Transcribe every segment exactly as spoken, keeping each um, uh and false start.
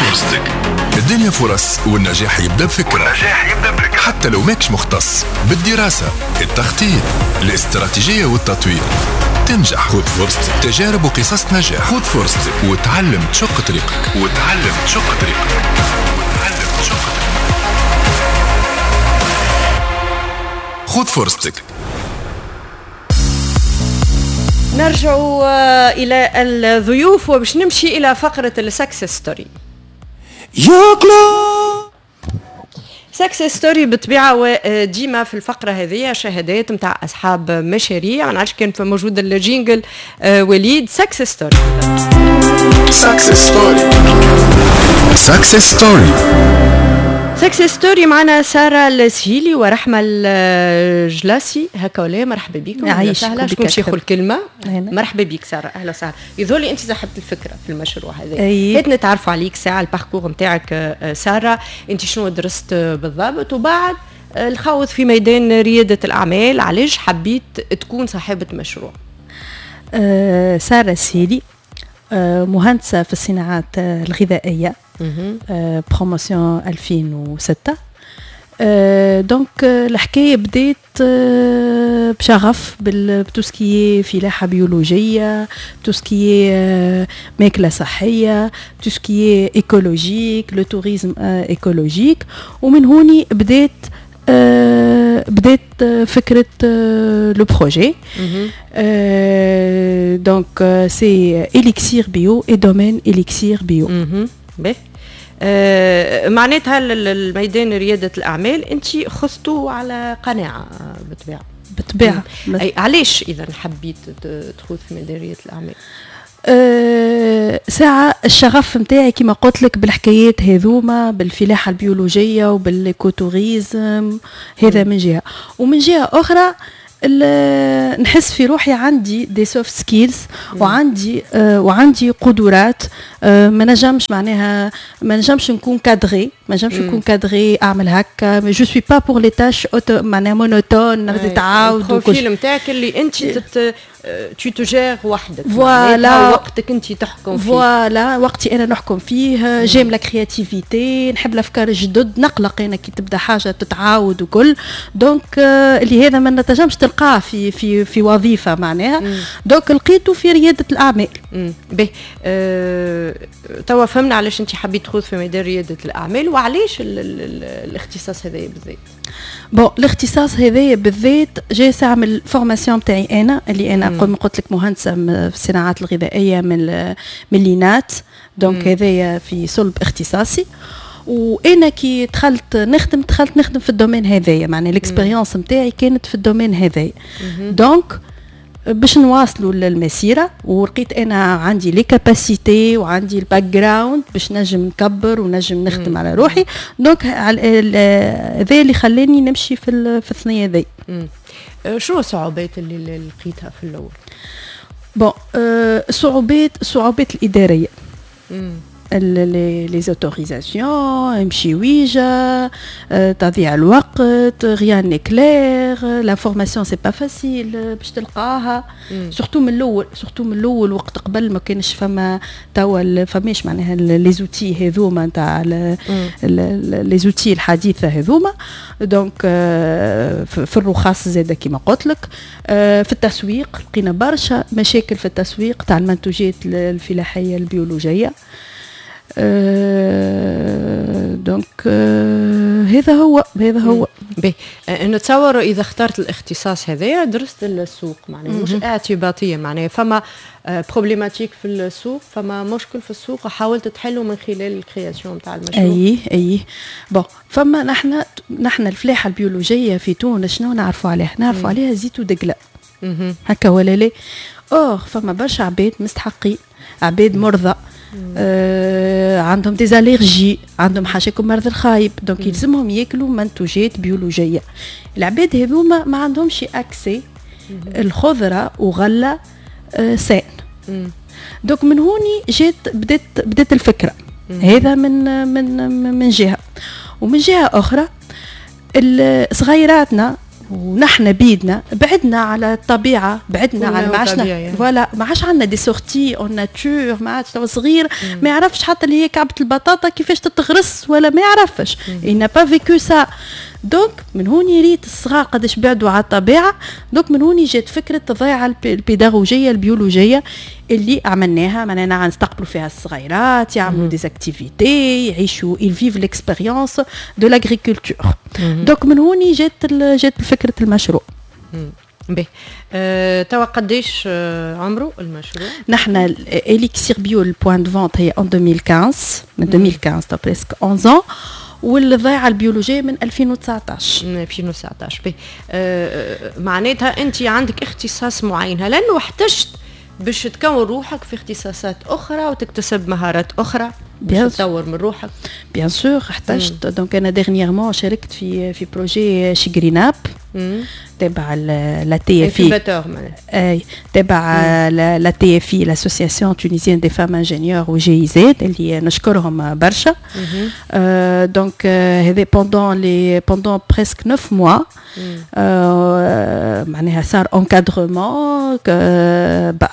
فرصتك. الدنيا فرص، والنجاح يبدا بفكرة، والنجاح يبدا بفكرة حتى لو ماكش مختص. بالدراسة، التخطيط، الاستراتيجية والتطوير تنجح. خذ فرصتك، تجارب وقصص نجاح. خذ فرصتك وتعلم تشق طريقك، وتعلم تشق طريقك، وتعلم تشق طريقك. خذ فرصتك. نرجع إلى الضيوف وباش نمشي إلى فقرة ال success story. success story بالطبيعة، وديما في الفقرة هذه شهادات نتاع أصحاب مشاريع. ما نعرفش كان موجود ال jingle وليد. success story، success story، success story، success story. معنا سارة السهيلي ورحمة الجلاسي، هكا ولا؟ مرحبا بكم. يعيشك. وسهلا. شكون باش ياخذ الكلمة؟ مرحبا بك سارة، أهلا وسهلا. يظهر لي أنت صاحبة الفكرة في المشروع هذا. هات نتعرفوا عليك ساعة، ال parcours نتاعك سارة، أنت شنو درست بالضبط، وبعد الخوض في ميدان ريادة الأعمال، علاش حبيت تكون صاحبة مشروع؟ أه سارة السهيلي، أه مهندسة في الصناعات الغذائية، promotion ألفين وستة. donc الحكاية بدات بشغف ب tout ce qui est فلاحة بيولوجيه، tout ce qui est ماكله صحيه، tout ce qui est écologique، le tourisme écologique. ومن هوني بدات بدات فكرة le projet. donc c'est Elixir Bio et domaine Elixir Bio. باهي، آه معناتها الميدان ريادة الأعمال أنت خذته على قناعة بالطبيعة. بالطبيعة. أي علاش إذا حبيت تخوض في ميدان ريادة الأعمال؟ أه ساعة الشغف نتاعي كما قلت لك بالحكايات هذوما، بالفلاحة البيولوجية وبال écotourisme، هذا من جهة، ومن جهة أخرى نحس في روحي عندي des soft skills وعندي آه وعندي قدرات، آه ما نجمش معناها ما نجمش نكون cadrée، ما نجمش نكون cadrée اعمل هكا. je suis pas pour les tâches معناها monotones تتعاود. ال profil نتاعك اللي انت تت tu te gères وحدك، voilà، وقتك انت تحكم فيه. voilà، وقتي انا نحكم فيه. j'aime la créativité، نحب الافكار الجدد، نقلق انا كي تبدا حاجة تتعاود وكل. donc اللي هذا ما نتنجمش تلقاه في في في وظيفة معناها. donc لقيته في رياده الاعمال. باهي، أه، توا فهمنا علاش انت حبيت تخوض في ميدان رياده الاعمال، وعلاش الاختصاص هذايا بالذات؟ bon، الاختصاص هذايا بالذات جاي ساعة من ال formation تاعي انا، اللي انا قلت لك مهندسه في الصناعات الغذائية من من l'INAT. donc هذايا في صلب اختصاصي. وانا كي دخلت نخدم دخلت نخدم في ال domaine هذايا، معناها ال expérience نتاعي كانت في ال domaine هذايا. donc باش نواصلوا المسيره، ولقيت انا عندي les capacités وعندي ال background باش نجم نكبر ونجم نخدم على روحي. donc هذا اللي خلاني نمشي في في الثنية ذي. شنو الصعوبات اللي لقيتها في الاول؟ bon، الصعوبات الصعوبات الاداريه، les autorisations، امشي ويجا، تضيع الوقت، rien n'est clair، l'information c'est pas facile باش تلقاها، surtout من الاول، surtout من الاول وقت قبل ما كانش فما توا فماش معناها les outils هذوما نتاع les outils الحديثة هذوما. donc في الرخص زاده كيما قلت لك، في التسويق لقينا برشا مشاكل في التسويق تاع المنتوجات الفلاحية البيولوجيه. أه donc أه هذا هو هذا هو. باهي، نتصور اذا اخترت الاختصاص هذايا درست السوق، معناها مش اعتباطيه، معناها فما problématique في السوق، فما مشكل في السوق وحاولت تحله من خلال ال création تاع المشروع. اي اي bon، فما نحن نحن الفلاحة البيولوجية في تونس شنو نعرفوا عليها؟ نعرفوا عليها زيت ودقله، هكا ولا لا؟ or فما برشا عباد مستحقين، عباد مرضى، آه عندهم des allergies، عندهم حاشاكم مرض الخايب، donc يلزمهم ياكلوا منتوجات بيولوجية. العباد هذوما ما عندهمش accès الخضرة وغله آه saine. donc من هوني جات بدات بدات الفكرة. هذا من من من جهه، ومن جهة اخرى صغيراتنا ونحن بيدنا بعدنا على الطبيعه، بعدنا على ما عادش voilà، ما عادش عندنا des sorties en nature. ما عادش صغير ما يعرفش حتى اللي هي كعبه البطاطا كيفاش تتغرس ولا ما يعرفش، il n'a pas vécu ça. donc من هوني ريت الصغار قداش بعدوا على الطبيعه. donc من هوني جات فكرة الضيعة البيداغوجيه البيولوجية اللي عملناها، معناها نستقبلوا فيها الصغيرات، يعملوا des activités، يعيشوا، ils vivent l'expérience de l'agriculture. donc من هوني جات جات فكرة المشروع. باهي، أه توا قداش آه، عمره المشروع؟ نحن Elixir Bio، ال point de vente هي en ألفين وخمسطاش، من ألفين وخمسطاش، presque onze ans، والضيعه البيولوجية من ألفين وتسعطاش. من ألفين وتسعطاش. باهي، أه معناتها انت عندك اختصاص معين، هل انه احتجت باش تكون روحك في اختصاصات اخرى وتكتسب مهارات اخرى باش تطور من روحك؟ bien sûr احتجت. donc انا dernièrement شاركت في في projet She Green Up تبع l'ATFI، اي تبع l'ATFI، l'association tunisienne des femmes ingénieures، و GIZ اللي نشكرهم برشا. donc هذا pendant les pendant presque neuf mois معناها صار encadrement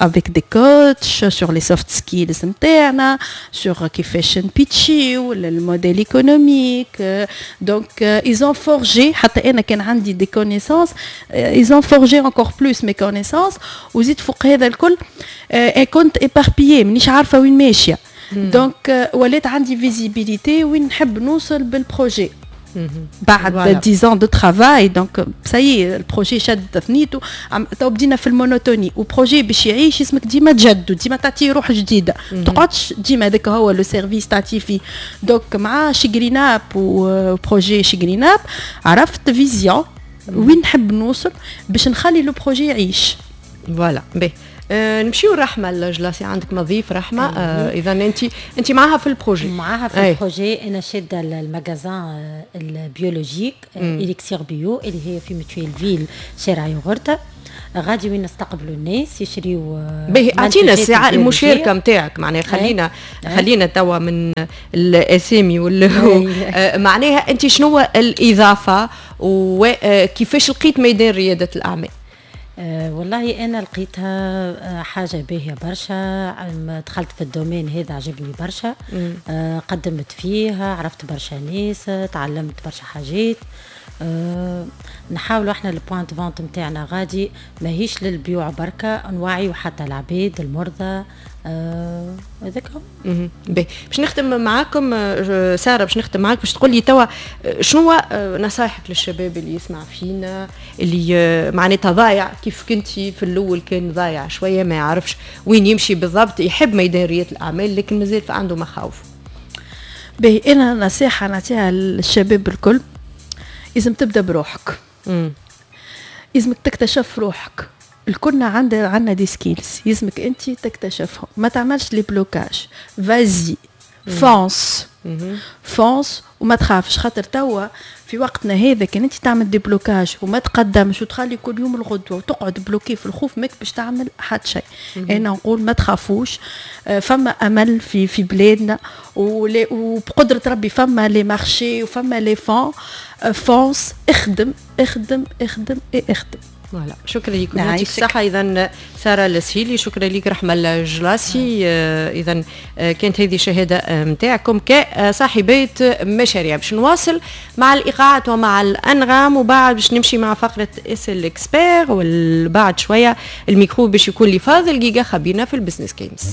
avec des coachs sur les soft skills نتاعنا، sur كيفاش نبيتشيو ال modèle économique. donc ils ont forgé، حتى انا كان عندي des connaissances، ils ont forgé encore plus mes connaissances. وزيد فوق هذا الكل كنت éparpillée، مانيش عارفه وين ماشيه. donc ولات عندي visibilité وين نحب نوصل بال projet بعد dix ans de travail. donc ça y est، ال projet شد ثنيتو، تو بدينا في ال monotonie. و projet باش يعيش اسمك ديما تجدد، ديما تعطيه روح جديده، ما تقعدش ديما هذاك هو le service تعطيه فيه. donc مع She Green Up و projet She Green Up عرفت vision وين نحب نوصل باش نخلي le projet يعيش. voilà، باهي، آه نمشيو رحمه الجلاسي، عندك مضيف رحمه؟ آه اذا انت انت معاها في ال projet. معاها في ال projet. انا شاده ال magasin ال biologique Elixir Bio اللي هي في Mutuelleville، شارع يوغورتا، غادي وين نستقبلوا الناس يشريوا. باهي، اعطينا الساعة المشاركة نتاعك، معناها خلينا خلينا توا من الاسامي وال آه، معناها انت شنو الاضافة وكيفاش لقيت ميدان رياده الاعمال؟ أه والله انا لقيتها آه، حاجة باهيه برشا. دخلت في ال domaine هذا، عجبني برشا، أه قدمت فيه، عرفت برشا ناس، تعلمت برشا حاجات. أه نحاولوا احنا ال point de vente نتاعنا غادي ماهيش للبيوع بركه، نوعيو حتى العباد المرضى. آه، هذاك هو. باهي، باش نختم معاكم، آه، ساره، باش نختم معاك باش تقول لي توا آه، شنو نصائحك للشباب اللي يسمع فينا، اللي معناتها ضايع كيف كنتي في الاول، كان ضايع شويه، ما يعرفش وين يمشي بالضبط، يحب ميدان رياده الاعمال لكن مازال عنده مخاوف؟ باهي، انا نصيحة نعطيها للشباب الكل: لازم تبدا بروحك، لازمك تكتشف روحك. الكلنا عندنا عندنا des skills، يلزمك انت تكتشفهم، ما تعملش les blocages، vas-y، fonce، fonce وما تخافش. خاطر توا في وقتنا هذا كان انت تعمل des blocages وما تقدمش وتخلي كل يوم الغدوه وتقعد bloqué في الخوف، ماك باش تعمل حتى شيء. انا نقول ما تخافوش، آه، فما امل في في بلادنا، وبقدره ربي فما les marchés وفما les fonds. fonce، اخدم اخدم اخدم اخدم. voilà، شكرا لكم، يعطيك الصحة. إذا سارة السهيلي، شكرا لك رحمة الجلاسي. آه، إذا آه، كانت هذه شهادة نتاعكم كصاحبات مشاريع. باش نواصل مع الإيقاعات ومع الأنغام، وبعد باش نمشي مع فقرة اسأل l'expert، وبعد شوية الميكرو باش يكون لفاضل جيجا خبيرنا في ال business games.